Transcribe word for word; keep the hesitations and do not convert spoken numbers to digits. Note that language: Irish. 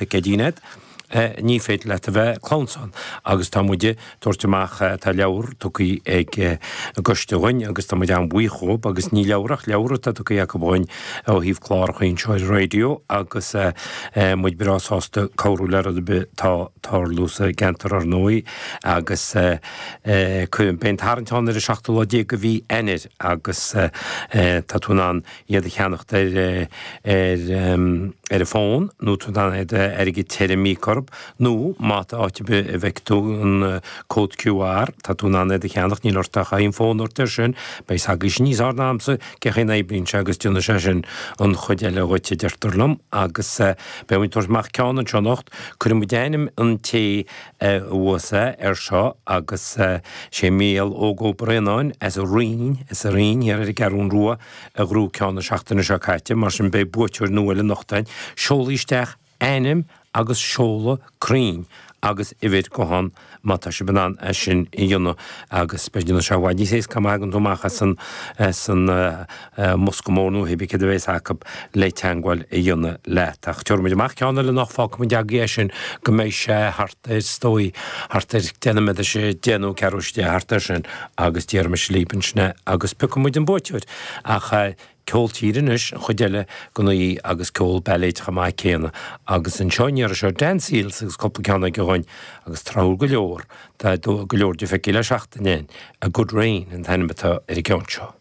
Picéidín agat, ní féidir leat a bheith clamhsán agus tá muid ag tabhairt amach, tá leabhar tugtha ag an gcoiste dhúinn agus tá muid an-bhuíoch dhóibh agus ní leabhar ach leabhar atá tugtha acu dhúinn ó thaobh cláracha anseo ar an raidió agus muid breá sásta cabhrú le rud ar bith atá ag tarlú sa gceantar ar ndóigh agus beidh an tarraingt ann ar an seachtú lá déag de mhí Eanáir agus tá tú in ann iad a cheannacht ar ar ar an bhfón nó tú in ann iad airgead tirim a íoc orthu nó má tá áit ar bith a bhfeic tú an cód QR tá tú in ann iad a cheannacht, níl ort ach aon fón a thabhairt air sin, beidh a fhios agaibhse níos fearr ná a'msa cén chaoi a n-oibríonn sé agus déanfaidh sé sin an chuid eile dhuit a deirtear liom agus beidh muid ag tabhairt amach ceann anseo anocht, cuirfidh muid ainm an té a bhuas é air seo agus sé Mícheál Óg Ó Braonáin as an Rinn, as an Rinn thiar ar an gCeathrún Rua a ghnóthaigh ceann na seachtaine seo caite, mar sin beidh buaiteoir nua eile anocht againn. Seolaigí isteach ainm agus seoladh cruinn agus uimhir gutháin má tá sibh in ann é sin a dhéanamh agus beidh déanamh sé i bhfad níos éasca má thagann tú amach as an as an mbosca mór nó cibé céard a bheas acu le teagmháil a dhéanamh leat. Ach tabharfaidh muid amach ceann eile anocht, fágfaidh muid agaibh é sin go mbeidh sé thart ar, is dóigh, thart ar deich nóiméad théis a deich nó ceathrú théis a deich, thart ar sin agus déarfaidh mise libh ansin é agus piocfaidh muid an buaiteoir. Ach ceol tíre anois, an chuid eile den oíche agus ceol bailéid chomh maith céanna. Agus anseo an iarraidh seo Dan Seals agus cúpla ceann aige dhúinn agus tráthúil go leor, tá go leor de feicthe le seachtain againn, A Good Rain an t-ainm atá ar an gceann seo.